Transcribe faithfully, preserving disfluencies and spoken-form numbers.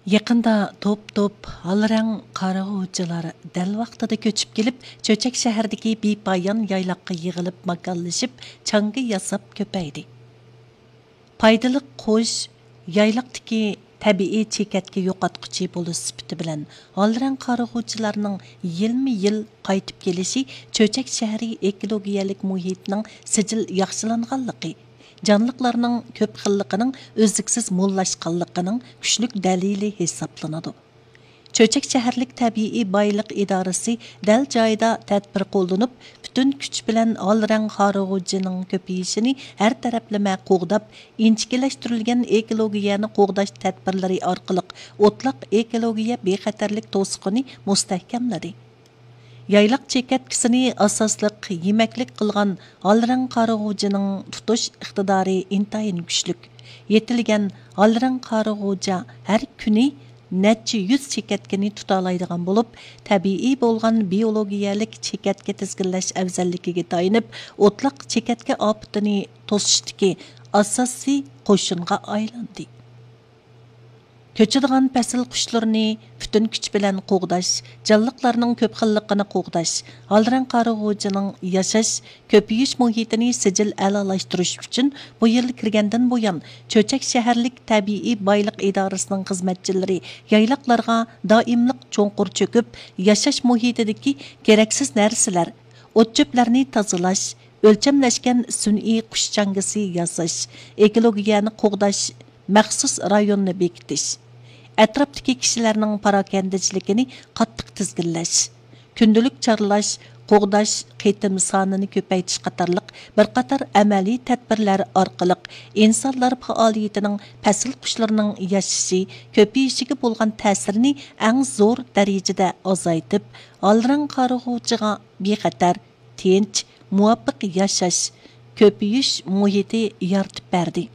يېقىندا توپ-توپ ھال رەڭ قارىغۇچىلار دەل ۋاقتىدا كۆچۈپ كېلىپ، چۆچەك شەھىرىدىكى بىپايان يايلاققا يىغىلىپ ماكانلىشىپ، چاڭگا ياساپ كۆپەيدى. پايدىلىق قۇش يايلاقتىكى تەبىئىي چېكەتكە يوقاتقۇچى بولۇش سۈپىتى بىلەن، ھال رەڭ قارىغۇچىلارنىڭ يىلمۇ يىل قايتىپ كېلىشى چۆچەك شەھىرى ئېكولوگىيەلىك مۇھىتىنىڭ سىجىل ياخشىلانغانلىقى، جانلىقلارنىڭ كۆپ خىللىقىنىڭ ئۈزلۈكسىز موللاشقانلىقىنىڭ كۈچلۈك دەلىلى ھېسابلىنىدۇ. چۆچەك شەھەرلىك تەبىئىي بايلىق ئىدارىسى دەل جايىدا تەدبىر قوللىنىپ، پۈتۈن كۈچ بىلەن ھال رەڭ قارىغۇچىنىڭ كۆپىيىشىنى ھەر تەرەپلىمە قوغداپ، ئىنچىكىلەشتۈرۈلگەن ئېكولوگىيەنى قوغداش تەدبىرلىرى ئارقىلىق ئوتلاق ئېكولوگىيە بىخەتەرلىك توسۇقىنى مۇستەھكەملىدى. يايلاق چېكەتكىسىنى ئاساسلىق يېمەكلىك قىلغان ھال رەڭ قارىغۇچىنىڭ تۇتۇش ئىقتىدارى ئىنتايىن كۈچلۈك. يېتىلگەن ھال رەڭ قارىغۇچا ھەر كۈنى نەچچە يۈز چېكەتكىنى تۇتالايدىغان بولۇپ، تەبىئىي بولغان بىيولوگىيەلىك چېكەتكە تىزگىنلەش ئەۋزەللىكىگە تايىنىپ، ئوتلاق چېكەتكە ئاپىتىنى توسۇشتىكى ئاساسىي قوشۇنغا ئايلاندى. كۆچىدىغان پەسىل قۇشلىرىنى پۈتۈن كۈچ بىلەن قوغداش، جانلىقلارنىڭ كۆپ خىللىقىنى قوغداش، ھال رەڭ قارىغۇچىنىڭ ياشاش، كۆپىيىش مۇھىتىنى سىجىل ئەلالاشتۇرۇش ئۈچۈن بۇ يىل كىرگەندىن بۇيان، چۆچەك شەھەرلىك تەبىئىي بايلىق ئىدارىسىنىڭ خىزمەتچىلىرى يايلاقلارغا دائىملىق چوڭقۇر چۆكۈپ، ياشاش مۇھىتىدىكى كېرەكسىز نەرسىلەر، ئوت-چۆپلەرنى تازىلاش، ئۆلچەملەشكەن سۈنئىي قۇش چاڭگىسى ياساش، ئېكولوگىيەنى قوغداش مەخسۇس رايونىنى بېكىتىش، ئەتراپتىكى كىشىلەرنىڭ پاراكەندىچىلىكىنى قاتتىق تىزگىنلەش، كۈندىلىك چارلاش، قوغداش قېتىم سانىنى كۆپەيتىش قاتارلىق بىر قاتار ئەمەلىي تەدبىرلەر ئارقىلىق ئىنسانلار پائالىيىتىنىڭ پەسىل قۇشلىرىنىڭ ياشىشى، كۆپىيىشىگە بولغان تەسىرىنى ئەڭ زور دەرىجىدە ئازايتىپ، ھال رەڭ قارىغۇچىغا بىخەتەر، تىنچ، مۇۋاپىق ياشاش، كۆپىيىش مۇھىتى يارىتىپ بەردى.